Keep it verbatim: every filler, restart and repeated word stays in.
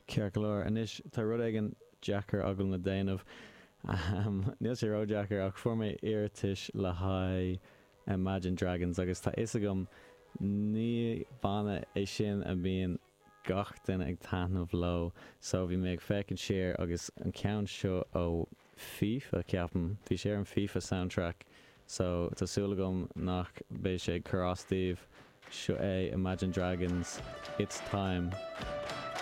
Ceart go leor, anois tá rud éigin deacair agam le déanamh. Um, níl sé ró-deacair ach fuair mé iarratais le haghaidh Imagine Dragons agus tá fhios agam ní banna é sin a bhíonn gach duine ag taitneamh leo so bhí mé ag féachaint siar agus an ceann seo ó FIFA ceapaim bhí sé ar an FIFA soundtrack so tá súil agam nach mbeidh sé ag cur as daoibh seo é Imagine Dragons It's Time.